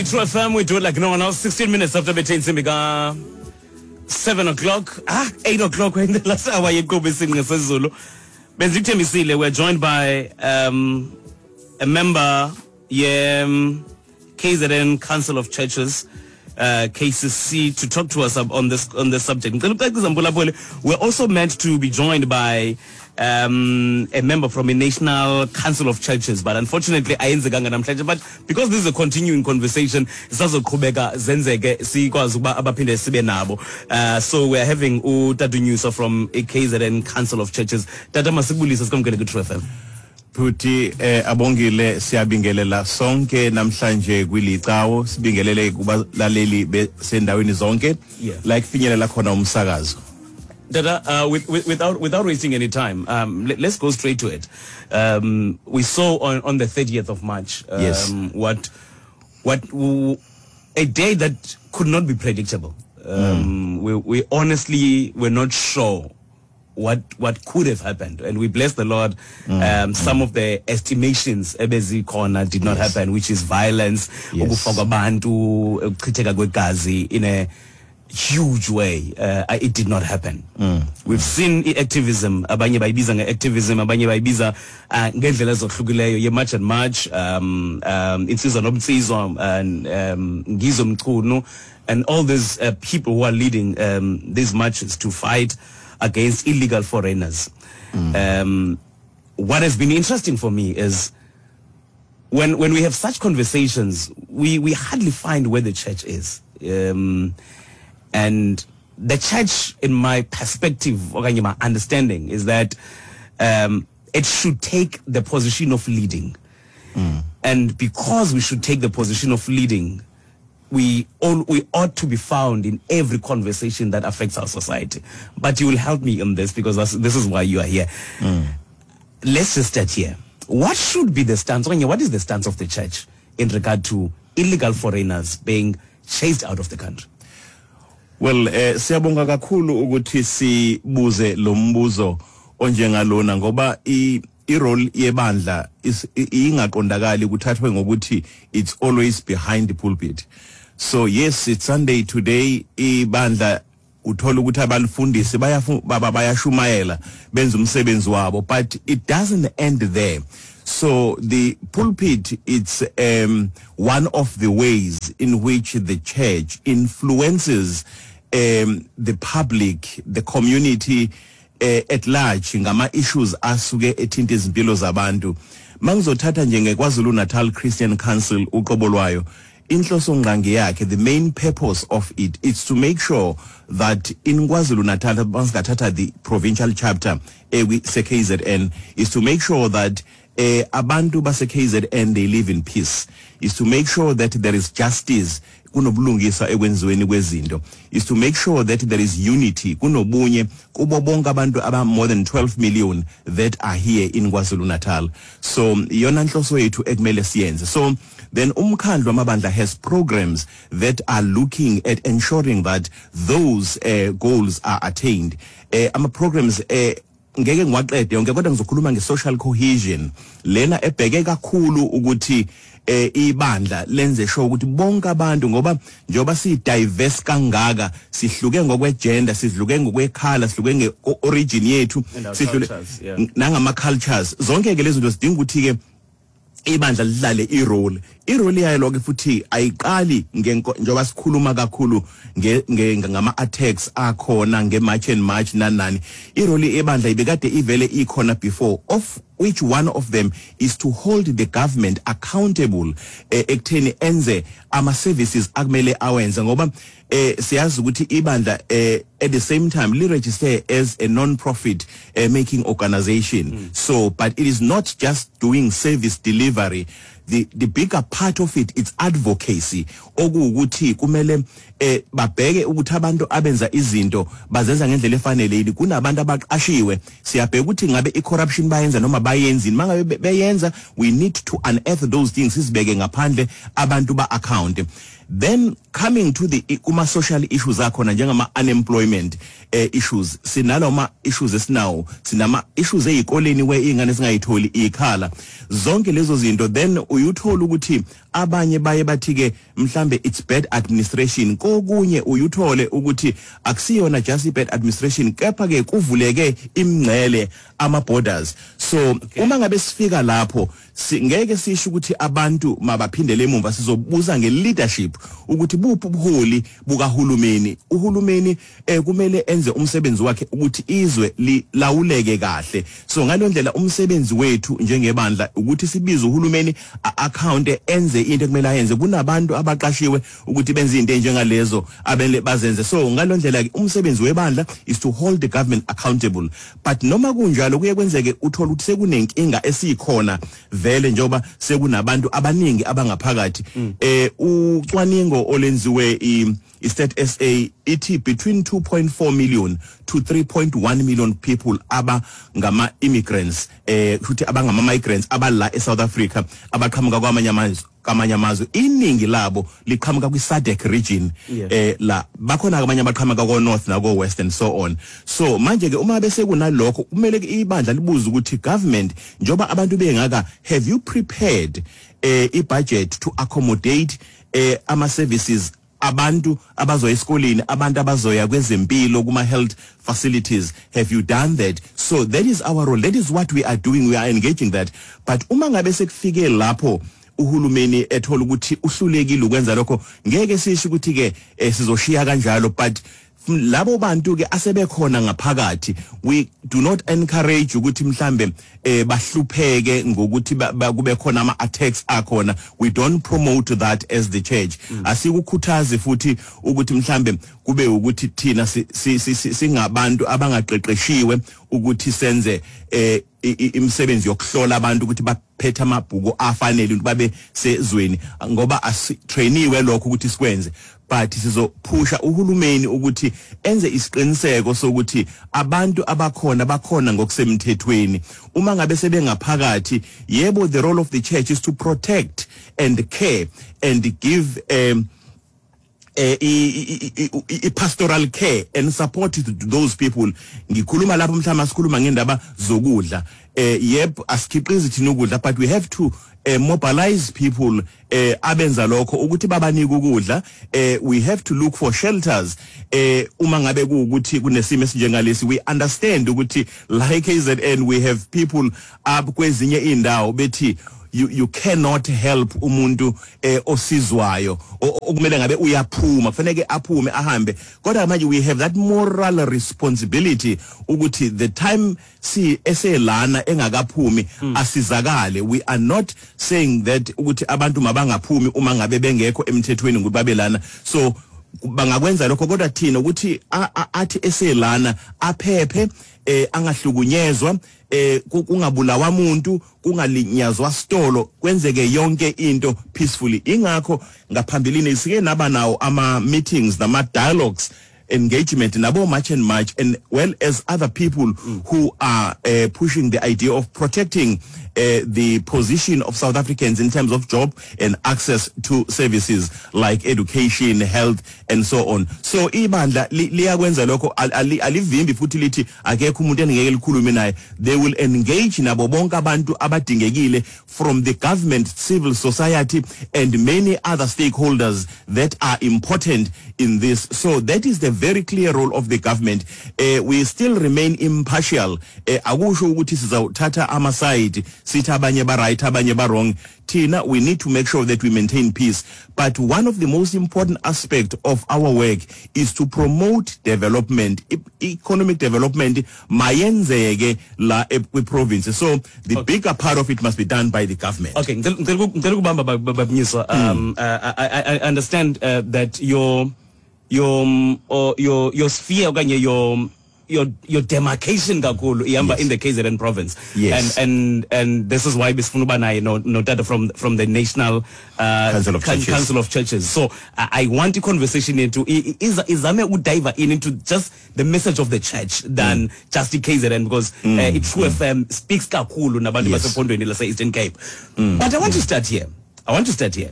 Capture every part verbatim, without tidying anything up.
True F M, we do it like no one else. sixteen minutes after between intsimbi ka seven o'clock. Ah, eight o'clock. We're in the last hour yenkqubo Isingqi Sezulu. Bendikuthembisile, we're joined by um, a member ye um, K Z N Council of Churches, uh, K C C, to talk to us on this on this subject. Ngicela ukucacisa, mphulaphuli, we're also meant to be joined by um, a member from a National Council of Churches, but unfortunately ayenzekanga namhlanje. But because this is a continuing conversation, sisazoqhubeka zenzeke sikwazi ukuba abaphinde sibe nabo. Uh, so we're having uTata Nyuswa from K Z N Council of Churches. Tata, masikubulise, sikwamkele ku True F M. Futhi eh abongile, siyabingelela sonke namhlanje kwilicawo, sibingelele kubalaleli besendaweni zonke Yeah. la kufinyelela khona umsakazo. Tata, uh, with, with, without without wasting any time, um, let us go straight to it. Um, we saw on, on the thirtieth of March um, Yes. what what w- a day that could not be predictable. Um, We we honestly were not sure what what could have happened, and we bless the Lord. Um, some of the estimations ebezikhona did not Yes. happen, which is violence, Yes. ukufa kwabantu, ukuchitheka kwegazi in a huge way. Uh, it did not happen. We've seen i-activism, abanye bayibiza nge-activism, abanye bayibiza uh, ngendlela ezohlukileyo ye-March and March, um, um, Insizwa Nomnsizwa and um, Ngizwe Mchunu and all these uh, people who are leading um, these marches to fight against illegal foreigners. Um, what has been interesting for me is when when we have such conversations, we, we hardly find where the church is. Um, and the church, in my perspective, okanye my understanding, is that um, it should take the position of leading. And because we should take the position of leading, we all we ought to be found in every conversation that affects our society. But you will help me on this because that's, this is why you are here. Let's just start here. What should be the stance? Okanye, what is the stance of the church in regard to illegal foreigners being chased out of the country? Well, eh siyabonga kakhulu ukuthi sibuze lo mbuzo onjengalona ngoba i i-role yebandla is- i- ingaqondakali kuthathwe ngokuthi it's always behind the pulpit. So yes, it's Sunday today, ibandla uthola ukuthi abalifundisi bayafu- baba bayashumayela, benza umsebenzi wabo, but it doesn't end there. So the pulpit, it's um, one of the ways in which the church influences um, the public, the community uh, at large ngama issues asuke ethinta izimpilo zabantu. Mangizothatha nje ngeKwaZulu Natal Christian Council uqobo lwayo, inhloso ngqangi yakhe, the main purpose of it is to make sure that in KwaZulu Natal, masingathatha the provincial chapter ekwi K Z N, is to make sure that eh abantu base K Z N, they live in peace, is to make sure that there is justice, kunobulungisa ekwenziweni kwezinto, is to make sure that there is unity, kunobunye kubo bonke abantu aba more than twelve million that are here in KwaZulu Natal. So iyona nhloso yethu ekumele siyenze. So then umkhandlu wamabandla has programs that are looking at ensuring that those uh, goals are attained. uh, ama programs uh, ngeke ngiwaqede yonke, kodwa ngizokhuluma nge-social cohesion lena ebheke kakhulu ukuthi eh ibandla lenze sure ukuthi bonke abantu, ngoba njengoba si diverse kangaka, sihluke ngokwe gender, sihluke ngokwekhala, sihluke nge origin yethu, And our sihlule cultures, yeah. nangama cultures, zonke ke lezi zinto zidinga ukuthi ke ibandla lidlale i-role i-role yayo. Lokho futhi ayiqali ngenko njengoba sikhuluma kakhulu nge- nge- ngama attacks akhona nge-March and March nani nani. I-role ebandla ibekade ivele ikhona before, of which one of them is to hold the government accountable eh, ekutheni enze ama services akumele awenze, ngoba eh siyazi ukuthi ibandla eh at the same time li register as a non-profit eh, making organization mm. So but it is not just doing service delivery. The the bigger part of it, it's advocacy, okuwukuthi kumele eh babheke ukuthi abantu abenza izinto bazenza ngendlela efanele yini. Kunabantu abaqashiwe, siyabheka ukuthi ngabe i-corruption bayenza noma bayenzini. Mangabe be- beyenza, we need to unearth those things, sizibeke ngaphandle, abantu ba account. Then Coming to the kuma social issues akhona, njengama unemployment eh, issues, sinalo ma issues esinawo, sinama issues ezikoleni where ingane singayitholi ikhala, zonke lezo zinto. Then uyuthola ukuthi abanye baye bathi ke mhlambe it's bad administration. Kokunye uyuthole ukuthi akusiyona just bad administration, kepha ke kuvuleke imingcele, ama borders. So okay, uma ngabe sifika lapho, ngeke sisho ukuthi abantu mabaphindele emumva. Sizobuza nge-leadership ukuthi buphi ubuholi bukahulumeni. Uhulumeni eh, kumele enze umsebenzi wakhe ukuthi izwe lilawuleke kahle. So ngalo ndlela, umsebenzi wethu njengebandla ukuthi sibize uhulumeni account, enze into ekumele ayenze. Kunabantu abaqashiwe ukuthi benze into enjengalezo, abele bazenze. So ngalo ndlela ke umsebenzi webandla is to hold the government accountable. But noma kunjalo, kuye kwenzeke uthola ukuthi sekunenkinga esikhona vele, njengoba sekunabantu abaningi abangaphakathi. eh ucwaningo olenziwe i Stat S A ithi between two point four million to three point one million people aba ngama immigrants, eh futhi abangama migrants abala eSouth Africa, abaqhamuka kwamanye amazwe kamanye amazwe. Iningi labo liqhamuka kwi SADC region. Yeah. eh la bakhona abanye abaqhamuka ko North nako West and so on. So manje ke uma bese kunalokho, kumele ke ibandla libuze ukuthi, government, njoba abantu bengaka, have you prepared eh i budget to accommodate eh ama services, abantu abazoya esikoleni, abantu abazoya kwezempilo, kuma health facilities? Have you done that? So that is our role, that is what we are doing, we are engaging that. But uma ngabe sekufike lapho uhulumeni ethola ukuthi uhlulekile ukwenza lokho, ngeke sisho ukuthi ke eh, sizoshiya kanjalo. But labo bantu ke asebekhona ngaphakathi, we do not encourage ukuthi mhlambe eh bahlupheke ngokuthi kube khona ama attacks akhona. We don't promote that as the church. Asikukhuthazi futhi ukuthi mhlambe kube ukuthi thina singabantu abangaqeqeshiwe ukuthi senze eh imisebenzi yokuhlola abantu ukuthi baphethe amabhuku afanele ukuthi babe sezweni, ngoba asitrainiwe lokho ukuthi sikwenze. But sizophusha uhulumeni ukuthi enze isiqiniseko sokuthi abantu abakhona bakhona ngokusemthethweni. Uma ngabe sebengaphakathi, yebo, the role of the church is to protect and care and give um eh i pastoral care and support to those people. Ngikhuluma lapho mhlawumbe asikhuluma ngendaba zokudla, eh yep, asikhiqizi thina ukudla, but we have to uh, mobilize people eh abenza lokho ukuthi babanike ukudla. eh we have to look for shelters eh uma ngabe kuukuthi kunesimo esinjengalesi. We understand ukuthi la K Z N we have people up kwezinye indawo bethi you you cannot help umuntu eh osizwayo okumele ngabe uyaphuma, kufanele aphume ahambe. Kodwa manje we have that moral responsibility ukuthi the time si eselana engakaphumi asizakale. We are not saying that ukuthi abantu mabangaphumi uma ngabe bengekho emthethweni ukuthi babelana, so bangakwenza lokho. Kodwa thina ukuthi athi eselana aphephe, eh angahlukunyezwa, eh kungabulawa umuntu, kungalinyazwa stolo, kwenzeke yonke into peacefully. Ingakho ngaphambilini sike naba nawo ama meetings nama dialogues, engagement nabo March and March and well as other people mm. who are uh, pushing the idea of protecting uh, the position of South Africans in terms of job and access to services like education, health and so on. So ibandla liyakwenza lokho, alivimbi futhi lithi akekho umuntu engeke likhulume naye. They will engage nabo bonke abantu abadingekile, from the government, civil society and many other stakeholders that are important in this. So that is the very clear role of the government. uh, we still remain impartial. uh, akusho ukuthi sizawuthatha ama side, sithi abanye ba right, abanye ba wrong. Thina we need to make sure that we maintain peace, but one of the most important aspect of our work is to promote development. E economic development mayenzeke la kwi province. So the okay. bigger part of it must be done by the government. Okay, ngicela ukubamba, Baba Mnyiswa. um uh, I, I understand uh, that your your um, or your your sphere okanye your your your demarcation kakhulu ihamba Yes. in the K Z N province. Yes. And and and this is why besifuna uba naye no no tata from from the National uh, Council of Coun- Churches. Council of Churches. So I, I want a conversation into i- i- izame udive in into just the message of the church than mm. just the K Z N, because mm. uh, True mm. F M speaks kakhulu nabantu Yes. basephondweni lase Eastern Cape. Mm. But I want mm. to start here. I want to start here.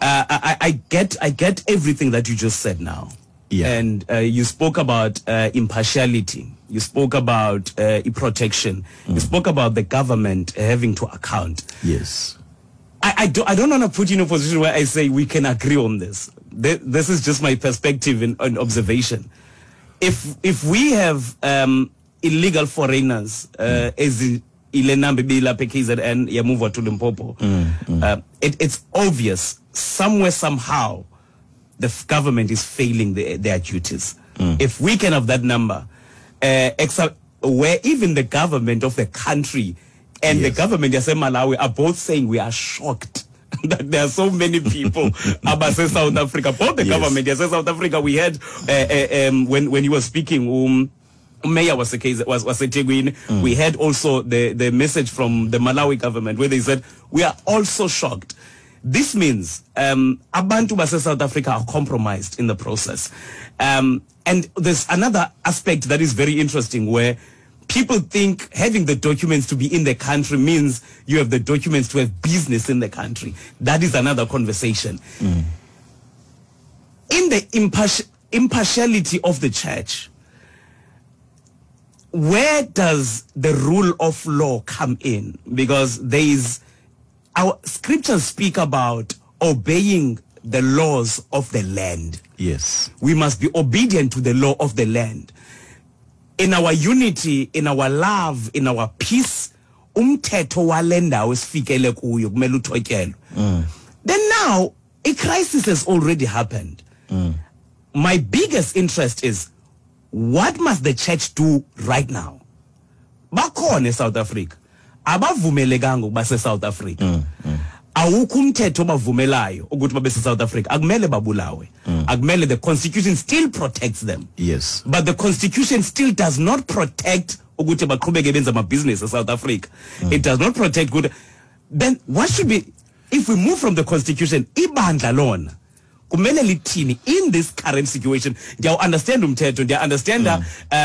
Uh, I, I get I get everything that you just said now. Yeah. And uh, you spoke about uh, impartiality. You spoke about uh, protection. Mm. You spoke about the government having to account. Yes. I, I, do, I don't want to put you in a position where I say we can agree on this. This is just my perspective and, and observation. If if we have um, illegal foreigners, uh, mm. as ile number bilapha K Z N yamove to Limpopo, mm, mm. Uh, it, it's obvious somewhere, somehow, the f- government is failing the, their duties. Mm. If we can have that number, uh, except where even the government of the country and Yes. the government yase Malawi are both saying we are shocked that there are so many people abase South Africa. Both the Yes. government yase South Africa, we had uh, uh, um, when when he was speaking, um, Mayor was was was eThekwini. Mm. We had also the the message from the Malawi government where they said we are also shocked. This means um, abantu base South Africa are compromised in the process. Um, and there's another aspect that is very interesting where people think having the documents to be in the country means you have the documents to have business in the country. That is another conversation. Mm. In the imparti- impartiality of the church, where does the rule of law come in? Because there is, our scriptures speak about obeying the laws of the land. Yes. We must be obedient to the law of the land. In our unity, in our love, in our peace, umthetho wale ndawo esifikele kuyo kumele uthotyelwe. Mm. Then now, a crisis has already happened. Mm. My biggest interest is, what must the church do right now? Bakhona eSouth Africa. Abavumelekanga ukuba seSouth Africa. Mm, mm. Awukho umthetho obavumelayo ukuthi babe seSouth Africa. Akumele babulawe. Mm. Akumele, the constitution still protects them. Yes. But the constitution still does not protect ukuthi baqhubeke benza amabhizinisi eSouth Africa. Mm. It does not protect good. Then what should be, if we move from the constitution, ibandla lona kumele lithini in this current situation? Ndiyawu understand umthetho, ndiya understand Mm.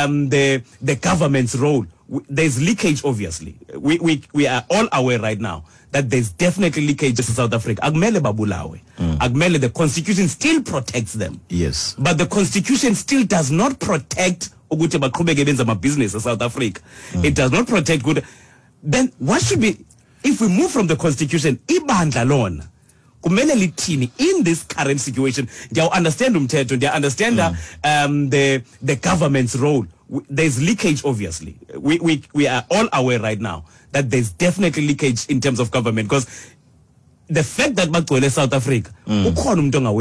um, the the government's role. There's leakage, obviously. We, we, we are all aware right now that there's definitely leakage in South Africa. Akumele babulawe. Mm. Akumele, the constitution still protects them. Yes. But the constitution still does not protect ukuthi baqhubeke benza amabhizinisi eSouth Africa. Mm. It does not protect good. Then what should be, if we move from the constitution, ibandla lona kumele lithini in this current situation? Ndiyawu understand umthetho, ndiya understand Mm. um, the the government's role. There's leakage, obviously. We, we, we are all aware right now that there's definitely leakage in terms of government, because the fact that bagcwele South Africa, Mm. ukhona umuntu ongawenzi